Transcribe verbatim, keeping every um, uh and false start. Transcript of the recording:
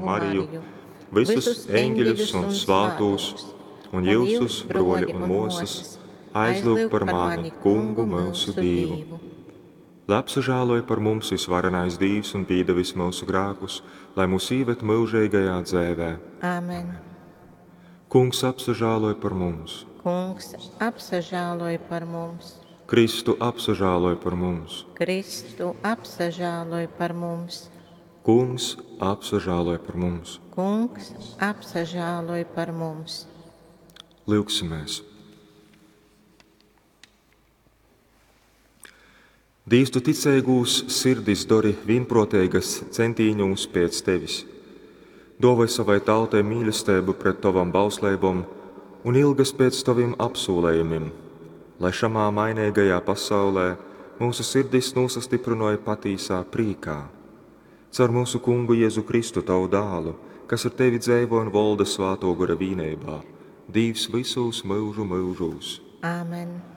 Mariju, visus eņģeļus un svātūs, un jyusus, broļi un mosas, aizlyugt par mani, Kungu myusu Dīvu. Lai apsažāloj par mums visvarenais Dīvs un pīdevis myusu grēkus, lai mūs īved myužīgajā dzēvē. Āmen. Kungs apsažāloj par mums. Kungs apsažāloj par mums. Kristu apsažāloj par mums. Kristu apsažāloj par mums. Kungs apsažāloj par mums. Kungs apsažāloj par mums. Lyugsimies! Dīvs, tu ticeigūs sirdis dori vienproteigas centīņūs pēc tevis. Dovai savai tautai mīlestību pret tavam bausleibom un ilgas pēc tavim apsūlējumim, lai šamā mainīgajā pasaulē mūsu sirdis nosastiprinoja patīsā prīkā. Caur mūsu kungu Jēzu Kristu, tavu dālu, kas ar tevi dzeivo un volda svāto gara vīneibā, Dīvs visūs myužu myužūs. Āmen.